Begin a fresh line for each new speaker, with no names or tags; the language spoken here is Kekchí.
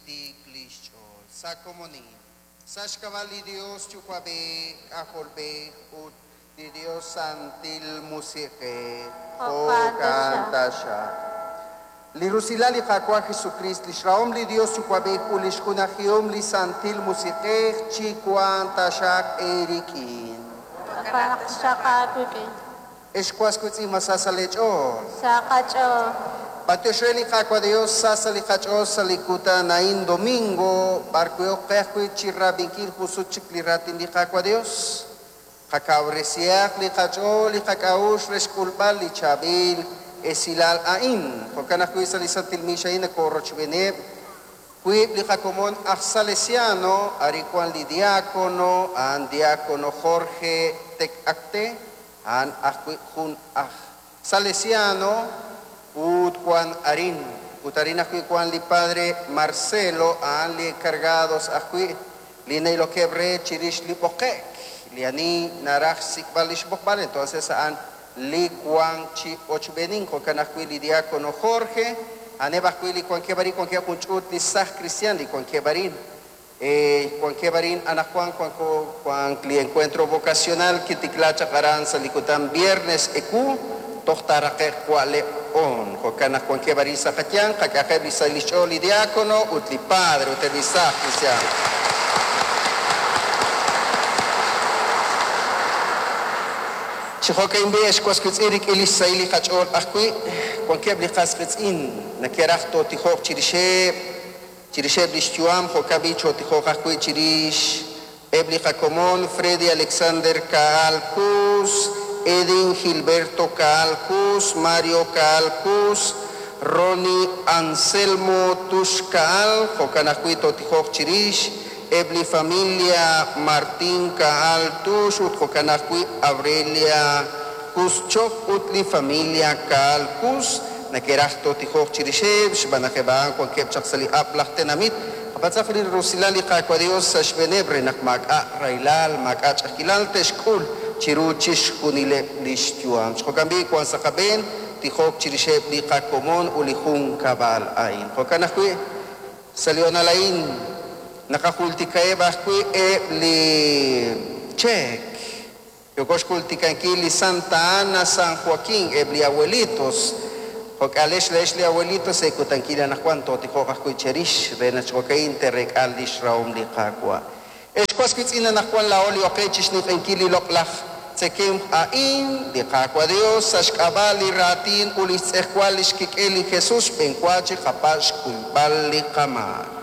tiik li xch'ool. Sa' komonil, sa' xk'ab'a' li Dios Yuwa'b'ej, K'ajolb'ej ut li Dios Santil Musiq'ej.
Jo'kan
taxaq. Li rusilal li Qaawa' Jesukriist, li xrahom li Dios Yuwa'b'ej ut li xjunajihom li Santil Musiq'ej chiwanq taxaq eerik'in.
Jo'kan taxaq aawik'in.
Ex was wiitz'in, ma sa sa' leech'ool?
Sa qach'ool.
B'antiox re li Qaawa' Dios, sa sa' li qach'ool sa' li kutan a'in domingo, b'ar wi' ok qe ajwi' chi rab'inkil jun sut chik li raatin li Qaawa' Dios. Qakawresihaq li qach'ool, li qak'a'uxl re xk'ulb'al li chaab'il esilal a'in. Jo'kan ajwi' sa' li Santil Misa a'in nakorochb'eeneb' wiib' li qakomon aj Salesiano, arin wan li diácono, a'an diácono Jorge Tecacte, a'an ajwi' jun aj Salesiano, ut wan arin. Ut arin ajwi' wan li padre Marcelo, a'an li encargados ajwi' li na'ilokeb' re chirix li b'oqe'k, li ani naraj xsik'b'al li xb'oqb'al, entonces a'an li wan chi ochb'eenink. Jo'kan ajwi' li diácono Jorge, a'aneb' ajwi' li wankeb' arin, wankeb' jun ch'uut li saj cristian li wankeb' arin. Wankeb' arin anaqwan wanko wan li encuentro vocacional kitikla chaq aran sa' li kutan viernes ewu toj taaraqe'q wa'leb' on. Jo'kan naq wankeb' arin sa' qayanq, qak'ajeb' li sa' li xch'ool li diácono ut li padre ut eb' li saj cristian. Chi jo'kan b'i' ex was wiitz'in rik'in li xsahil li qach'ool ajwi', wankeb' li qas qiitz'in neke'raj tootijoq chirixeb', chirixeb' li xyu'am, jo'kan b'i' chootijoq ajwi' chirix eb' li qakomon Freddy Alexander Kaal Cus, Edin Gilberto Kaal Cus, Mario Kaal Cus, Ronnie Anselmo Tux Kaal, jo'kan ajwi' tootijoq chirix eb' li familia Martín Kaal Tux ut jo'kan ajwi' Aurelia Cus Chok ut li familia Kaal Cus, neke'raj tootijoq chirixeb' xb'aan naq eb' a'an wankeb' chaq sa' li ab'laj tenamit. Qapatz'aq li rusilal li Qaawa' Dios sa' xb'eeneb' re naq maak'a' rahilal, maak'a' ch'a'ajkilal te'xk'ul chiru chixjunileb' li xyu'am. Jo'kan b'i' wan sa' qab'een tijok chirixeb' li qakomon ut li junkab'al a'in. Jo'kan ajwi' sa' li honal a'in naqajultikaheb' ajwi' eb' li cheek. Yooko xjultikankil li Santa Ana, San Joaquín, eb' li abuelitos. Jo'k'alex leex li abuelitos ekutankil anaqwan tootijoq ajwi' cherix re naq jo'ka'in te'reek'al li xrahom li Qaawa'. Ex was wiitz'in anaqwan laa'o li oqe chixninq'ehinkil li loq'laj tzekemq a'in, li Qaawa' Dios sa' xk'ab'a' li raatin ut li xtz'ejwal li xkik'el li Jesus xb'enwa chi qapa' xkuyb'al li qamaak.